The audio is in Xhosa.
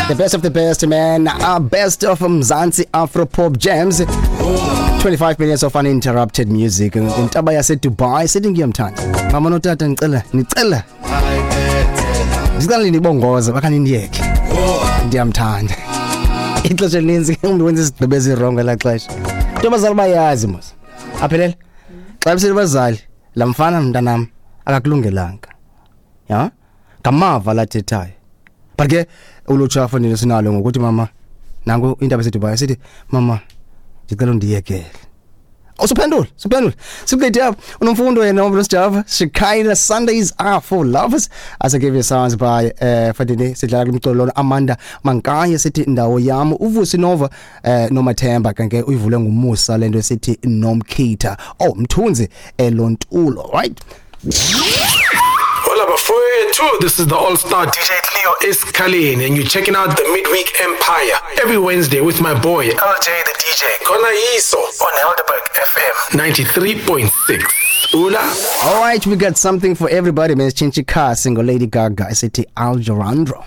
The best of the best, man. Best of Mzansi Afro Pop Jams. 25 minutes of uninterrupted music. Intaba yase Dubai sithi ngiyamthanda. Mama notata ngicela, nicela. Ndicela nibongoze bakani ndiyeke. Ndiyamthanda. Ixesha elininzi umntu wenza izigqibo ezirongo elaa xesha. Into abazali bayazi mos. Aphelele. Xa besithi abazali, laa mfana mntanam akakulungelanga. Ya? Ngamava lathethayo. But ke ulutsha fanele sinalo ngokuthi mama nanku indaba eseDubai sithi mama ndicela undiyekele. Usuphendula, suphendula. Siqede apha. Unomfundo yena uMlo Sjava. Shekinah, Sundays Are for Lovers. As I give you sounds by Fadini sidlala kumculo lona Amanda Mankaye sithi Ndawo Yam, uVusi Nova Nomathemba kanke uyivule nguMusa lento esithi Nomkhitha. Oh, Mthunzi elontulo, right? Hola bafowethu, this is the All-Star DJ Cleo Escalin, and you're checking out the Midweek Empire every Wednesday with my boy LJ the DJ Kona Yiso on Helderberg FM 93.6. Ula. All right, we got something for everybody, man. Chinchi Car single Lady Gaga esithi Alejandro.